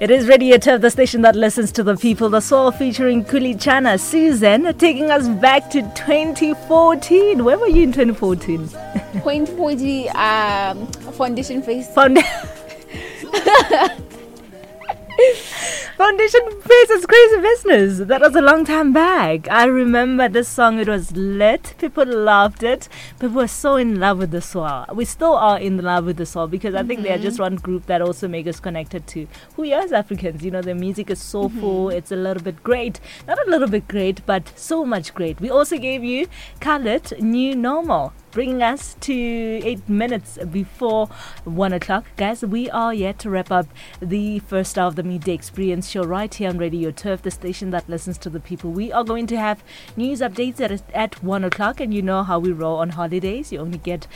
It is Radio Turf, the station that listens to the people. The Soul featuring Khuli Chana, Susan, taking us back to 2014. Where were you in 2014? 2014, foundation phase. Foundation phase is crazy business. That was a long time back. I remember this song. It was lit. People loved it. People were so in love with the Swell. We still are in love with the Swell because I think they are just one group that also make us connected to who we are as Africans. You know, the music is soulful. It's a little bit great. Not a little bit great, but so much great. We also gave you Khaled, New Normal, bringing us to 8 minutes before 1 o'clock. Guys, we are yet to wrap up the first hour of the Midday Experience show right here on Radio Turf, the station that listens to the people. We are going to have news updates at 1 o'clock, and you know how we roll on holidays. You only get,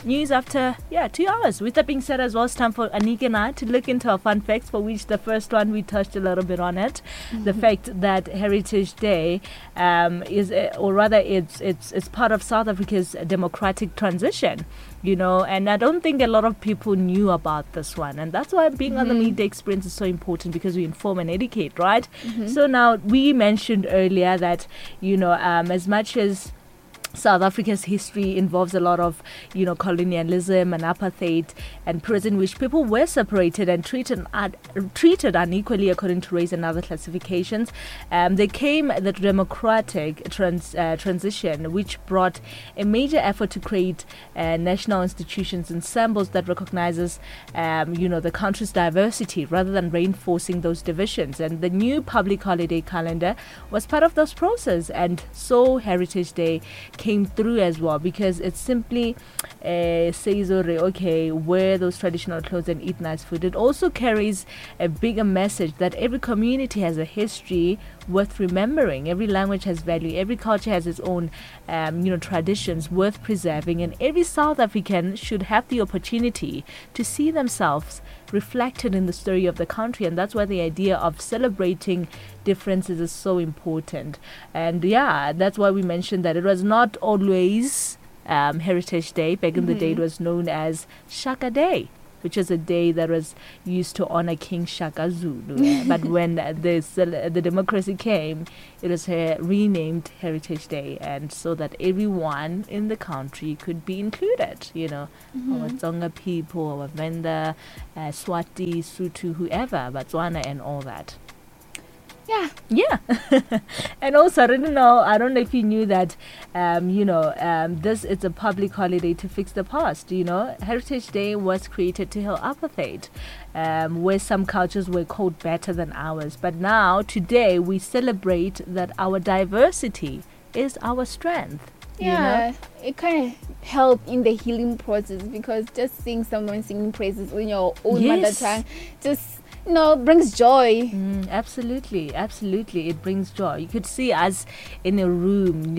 news after, 2 hours. With that being said as well, it's time for Anika and I to look into our fun facts, for which the first one we touched a little bit on it. The fact that Heritage Day is, or rather it's part of South Africa's democratic transition, and I don't think a lot of people knew about this one, and that's why being on the Midday Experience is so important, because we inform and educate, right? So now we mentioned earlier that, as much as South Africa's history involves a lot of, colonialism and apartheid and prison, which people were separated and treated unequally according to race and other classifications. There came the democratic transition, which brought a major effort to create national institutions and symbols that recognizes, the country's diversity rather than reinforcing those divisions. And the new public holiday calendar was part of this process, and so Heritage Day came through as well, because it simply says, okay, wear those traditional clothes and eat nice food. It also carries a bigger message that every community has a history worth remembering, every language has value, every culture has its own, traditions worth preserving, and every South African should have the opportunity to see themselves reflected in the story of the country. And that's why the idea of celebrating differences is so important. That's why we mentioned that it was not always Heritage Day. Back in the day, it was known as Shaka Day, which is a day that was used to honor King Shaka Zulu. But when the democracy came, it was renamed Heritage Day, and so that everyone in the country could be included, our Tsonga people, our Venda, Swati, Sotho, whoever, Botswana and all that. And also, I don't know if you knew that this is a public holiday to fix the past, you know. Heritage Day was created to heal apartheid, where some cultures were called better than ours. But now, today, we celebrate that our diversity is our strength. You know? Yeah, it kind of helped in the healing process, because just seeing someone singing praises in your own mother tongue just brings joy. Absolutely, absolutely. It brings joy. You could see us in a room,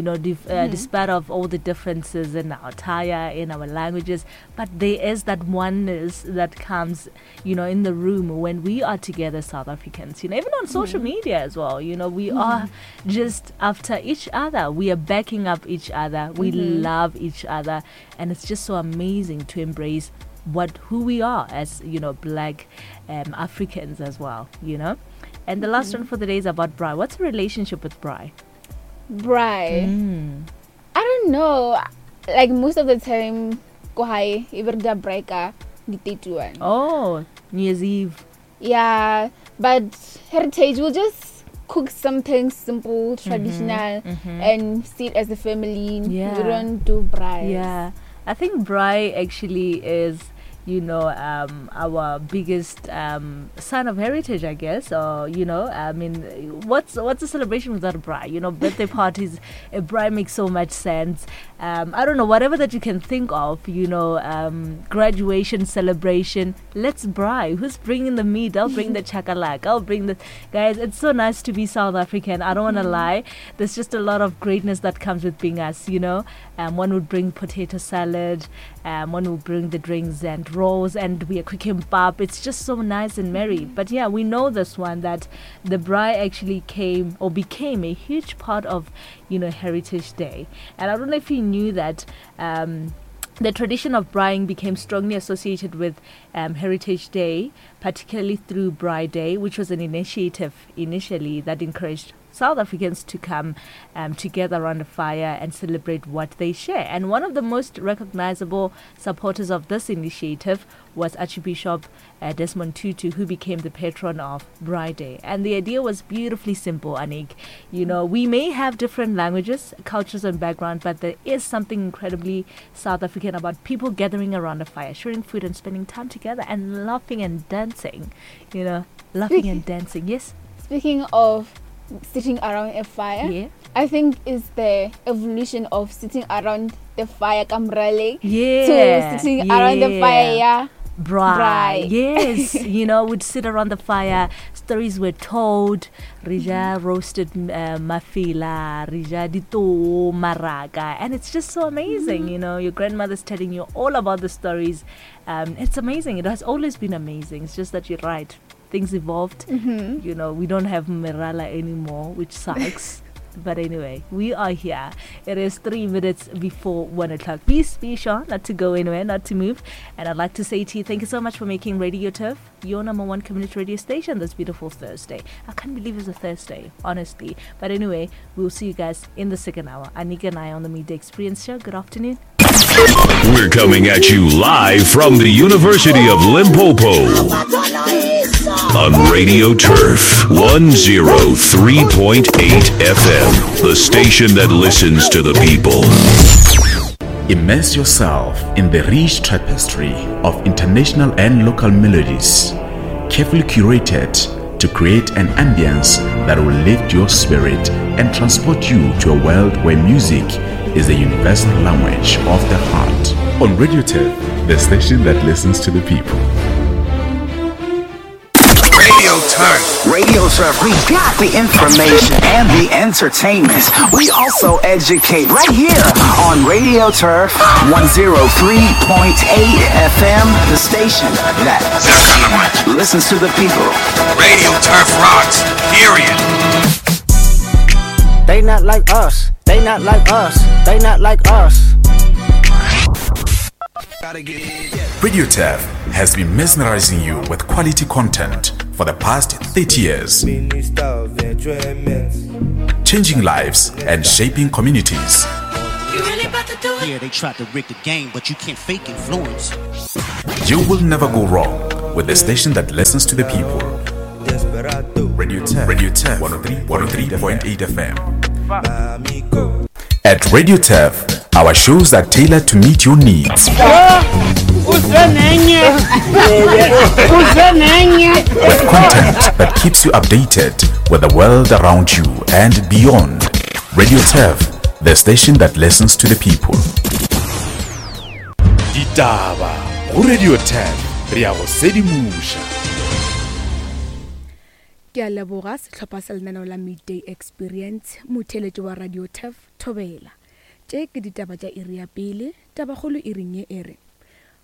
despite of all the differences in our attire, in our languages, but there is that oneness that comes, in the room when we are together, South Africans, even on social media as well, we are just after each other. We are backing up each other. We love each other. And it's just so amazing to embrace who we are as, Black Africans as well, you know. And the last one for the day is about braai. What's the relationship with braai? Braai? I don't know. Most of the time, go hae, e be re dira braai ka di 31. Oh, New Year's Eve. Yeah, but Heritage will just cook something simple, traditional, and sit as a family. We don't do braai. I think braai actually is, our biggest sign of heritage, I guess. What's a celebration without a braai? Birthday parties, a braai makes so much sense. I don't know, whatever that you can think of, graduation celebration, let's braai. Who's bringing the meat? I'll bring the chakalaka. I'll bring the... Guys, it's so nice to be South African. I don't want to lie. There's just a lot of greatness that comes with being us, you know. One would bring potato salad, one would bring the drinks and rolls, and we are cooking pap. It's just so nice and merry. But we know this one, that the braai actually came or became a huge part of, Heritage Day. And I don't know if you knew that The tradition of braaiing became strongly associated with um, Heritage Day, particularly through Braai Day, which was an initiative initially that encouraged South Africans to come um, together around the fire and celebrate what they share. And one of the most recognizable supporters of this initiative was Archbishop uh, Desmond Tutu, who became the patron of Braai Day. And the idea was beautifully simple, Anik. You know, we may have different languages, cultures, and background, but there is something incredibly South African about people gathering around the fire, sharing food, and spending time together and laughing and dancing. You know, laughing and dancing. Yes? Speaking of sitting around a fire, yeah. I think it's the evolution of sitting around the fire kamrale yeah. to sitting yeah. around the fire, yeah. Braai. Yes, you know, we'd sit around the fire. Stories were told. Rija mm-hmm. roasted uh, mafila, rija dito maraka, and it's just so amazing. Mm-hmm. You know, your grandmother's telling you all about the stories. Um, it's amazing. It has always been amazing. It's just that you're right. Things evolved. Mm-hmm. You know, we don't have Mirala anymore, which sucks. But anyway, we are here. It is three minutes before one o'clock. Please be sure not to go anywhere, not to move. And I'd like to say to you, thank you so much for making Radio Turf your number one community radio station this beautiful Thursday. I can't believe it's a Thursday, honestly. But anyway, we'll see you guys in the second hour. Anika and I on the Midday Experience Show. Good afternoon. We're coming at you live from the University of Limpopo on Radio Turf 103.8 FM, the station that listens to the people. Immerse yourself in the rich tapestry of international and local melodies, carefully curated to create an ambience that will lift your spirit and transport you to a world where music is the universal language of the heart. On Radio Turf, the station that listens to the people. Radio Turf. Radio Turf, we got the information and the entertainment. We also educate right here on Radio Turf 103.8 FM, the station that listens to the people. Radio Turf rocks, period. They not like us. They not like us. They not like us. Radio Turf has been mesmerizing you with quality content for the past 30 years. Changing lives and shaping communities. Yeah, they tried to rig the game, but you can't fake influence. You will never go wrong with the station that listens to the people. Radio Turf, Radio Turf 103.8 FM. At Radio Turf, our shows are tailored to meet your needs. With content that keeps you updated with the world around you and beyond. Radio Turf, the station that listens to the people. Ditaba go Radio 10 re a go sedimoša. Ke a leboga sehlopha sa lenaneo la Midday Experience, motheeletši wa Radio Turf, Thobela. Tše ke ditaba tša iri ya pele, tabakgolo iring ye e re,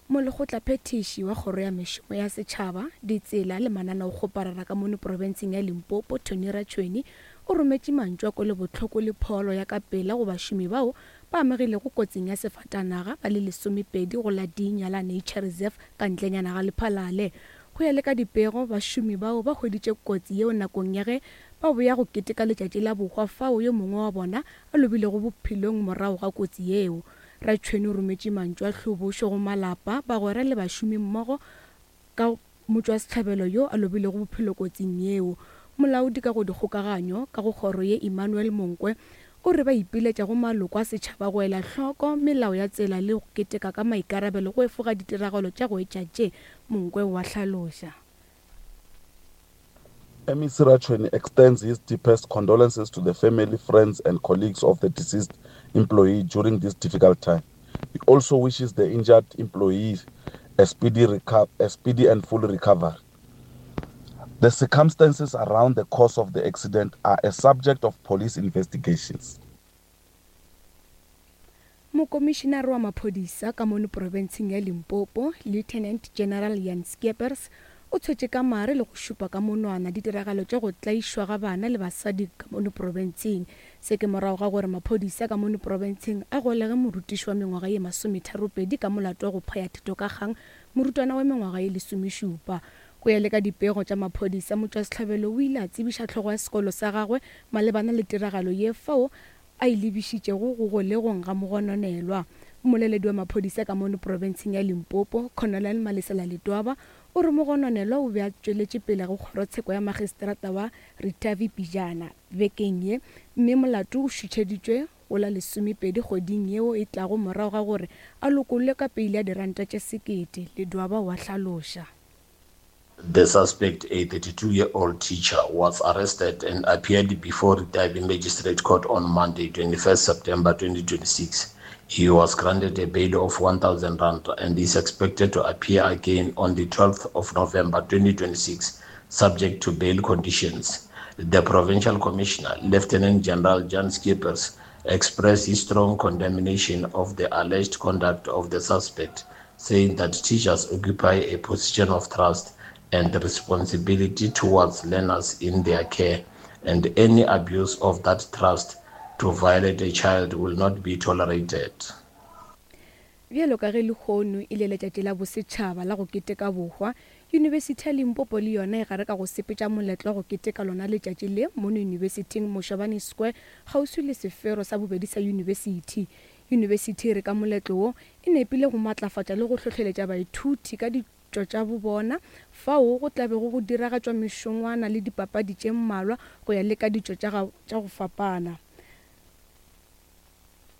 Molekgotlaphethiši wa Kgoro ya Mešomo ya Setšhaba, Ditsela le Mananeokgoparara ka mono profenseng ya Limpopo, Tony Ratšhweni, o rometše mantšu a kwelobohloko le pholo ya ka pela go bašomi bao ba amegilego kotsing ya sefatanaga ba le lesomepedi go la Dinyala Nature Reserve ka ntlenyana ga Lephalale. Go ya le ka dipego, bašomi bao ba hweditše kotsi yeo nakong ya ge ba boya go keteka letšatši la bohwa fao yo mongwe wa bona a lobilego bophelong morago ga kotsi yeo. Ratšhweni o rometše mantšu a hlobošo go malapa, bagwera le bašomi mmogo ka motšwasehlabelo yo a lobilego bophelo kotsing yeo. Molaodi ka go dikgokaganyo ka go kgoro ye Emmanuel Monkwe o re ba ipiletša go maloko a setšhaba go ela hloko melao ya tsela le go keteka ka maikarabelo go efoga ditiragalo tša go etša tše, Monkwe o a hlaloša. MEC Ratshweni extends his deepest condolences to the family, friends and colleagues of the deceased employee during this difficult time. He also wishes the injured employees a speedy, a speedy and full recovery. The circumstances around the cause of the accident are a subject of police investigations. Mokomišinare wa maphodisa ka mono profenseng ya Limpopo, Lieutenant General Jan Skeepers, o tshwetše ka mare le go šupa ka monwana ditiragalo tša go tlaišwa ga bana le basadi ka mono profenseng. Se ke morago ga gore maphodisa ka mono profenseng a golege morutiši wa mengwaga ye masometharopedi ka molato wa go phaya thito ka kgang morutwana wa mengwaga ye lesomešupa. Go ya le ka dipego tša maphodisa, motšwasehlabelo o ile a tsebiša hlogo ya sekolo sa gagwe malebana le tiragalo ye fao a e lebišitšego go golegong ga mogononelwa. Mmoleledi wa maphodisa ka mono profenseng ya Limpopo, Colonel Malesela Ledwaba, o re mogononelwa o be a tšweletše pele go kgorotsheko ya magistrata wa Ritavi pejana bekeng ye mme molato o šutšheditšwe go la lesomepedi kgweding yeo e tlago morago ga gore a lokollwe ka peile ya diranta tše sekete, Ledwaba o a hlaloša. The suspect, a 32-year-old teacher, was arrested and appeared before Ritavi Magistrate Court on Monday, 21st September 2026. He was granted a bail of 1,000 rand and is expected to appear again on the 12th of November 2026, subject to bail conditions. The provincial commissioner, Lieutenant General Jan Skippers, expressed his strong condemnation of the alleged conduct of the suspect, saying that teachers occupy a position of trust and responsibility towards learners in their care, and any abuse of that trust to violate a child will not be tolerated. Bjalo ka ge lehono e le letšatši la bosetšhaba la go keteka bohwa, Yunibesithi ya Limpopo le yona e gare ka go sepetša moletlo wa go keteka lona letšatši le mono yunibesithing Moshabane Square kgauswi le sefero sa bobedi sa yunibesithi. Yunibesithi e re ka moletlo wo e nepile go matlafatša le go hlohleletša baithuti ka ditšo tša bobona fao go tla bego go diragatšwa mešongwana le dipapadi tše mmalwa go ya le ka ditšo tša tša go fapana.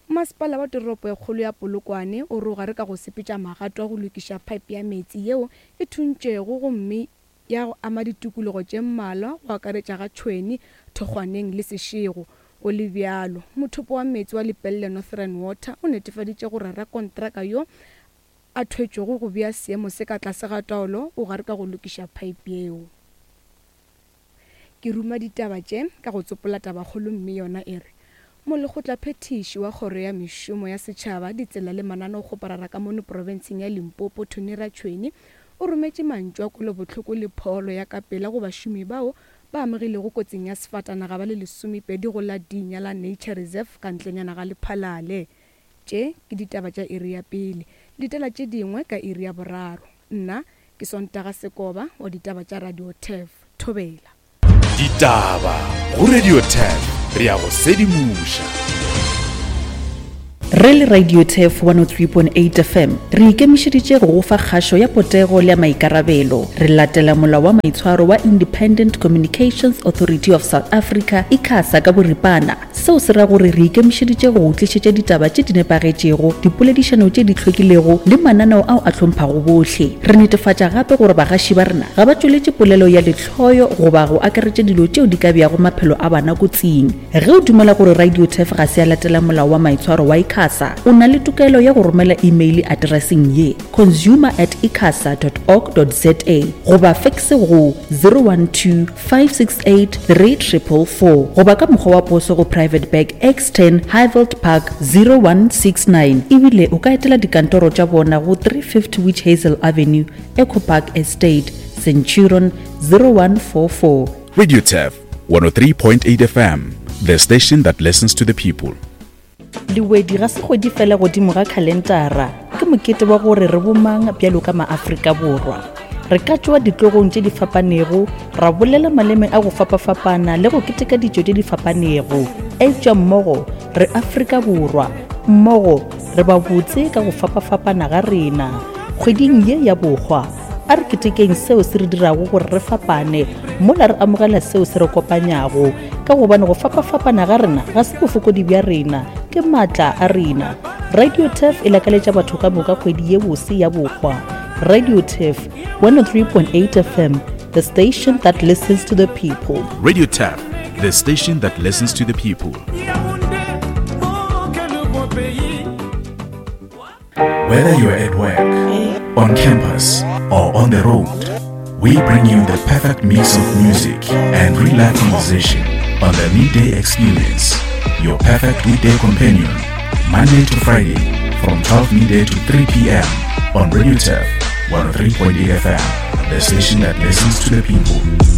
Masepala wa toropo e kgolo ya Polokwane o re o gare ka go sepetša magato a go lokiša pipe ya meetse yeo e thuntšwego gomme ya go ama ditikologo tše mmalwa go akaretša ga Tšhweni, Thokgwaneng le Seshego. Go le bjalo, mothopo wa meetse wa Lepelle Northern Water o netefaditše gore rakontraka yo a thwetšwego go bea seemo se ka tlase ga taolo o gare ka go lokiša phaepe yeo. Ke ruma ditaba tše ka go tsopola tabakgolo mme yona e re, Molekgotlaphethiši wa Kgoro ya Mešomo ya Setšhaba, Ditsela le Mananeokgoparara ka mono profenseng ya Limpopo, Tony Ratšhweni, o rometše mantšu a kwelobohloko le pholo ya ka pela go bašomi bao ba amegilego kotsing ya sefatanaga ba le lesomepedi go la Dinya la Nature Reserve ka ntlenyana ga Lephalale. Tše ke ditaba tša iri ya pele. Letela tše dingwe ka iri ya boraro. Nna ke Sontaga Sekoba wa ditaba tša Radio Turf. Thobela. Ditaba go Radio Turf re a go sedimoša. Re le Radio Turf 103.8 FM re ikemišeditše go go fa kgašo ya potego le ya maikarabelo. Re latela molao wa maitshwaro wa Independent Communications Authority of South Africa, ICASA, ka boripana. Seo se ra gore re ikemišeditše go go tlišetša ditaba tše di nepagetšego, dipoledišano tše di hlwekilego le mananeo ao a hlomphago bohle. Re netefatša gape gore bagaši ba rena ga ba tšweletše polelo ya lehloyo goba go akaretša dilo tšeo di ka beago maphelo a bana kotsing. Ge o dumela gore Radio Turf ga se ya latela molao wa maitshwaro wa ICASA, o na le tokelo ya go romela imeile atereseng ye, consumer at icasa dot org dot za goba fekse go 012 568 3444 goba ka mokgwa wa poso go Private Bag X10 Highveld Park 0169 ebile o ka etela dikantoro tša bona go 350 Witch Hazel Avenue, Echo Park Estate, Centurion 0144. Radio Turf 103.8 FM, the station that listens to the people. Lewedi ga se kgwedi fela godimo ga khalentara, ke mokete wa gore re bomang bjalo ka maAfrika Borwa. Re ka tšwa ditlogong tše di fapanego, ra bolela maleme a go fapafapana le go keteka ditšo tše di fapanego, eupša mmogo re Afrika Borwa, mmogo re ba botse ka go fapafapana ga rena. Kgweding ye ya Bohwa, a re ketekeng seo se re dirago gore re fapane mola re amogela seo se re kopanyago. Ka gobane go fapafapana ga rena ga se bofokodi bja rena, ke maatla a rena. Radio Turf e lakaletša batho ka moka kgwedi ye bose ya bohwa. Radio Turf, 103.8 FM, the station that listens to the people. Radio Turf, the station that listens to the people. Whether you're at work, on campus, or on the road, we bring you the perfect mix of music and real life conversation on the Midday Experience, your perfect weekday companion, Monday to Friday from 12 midday to 3 p.m. on Radio Turf 103.8 FM. The station that listens to the people.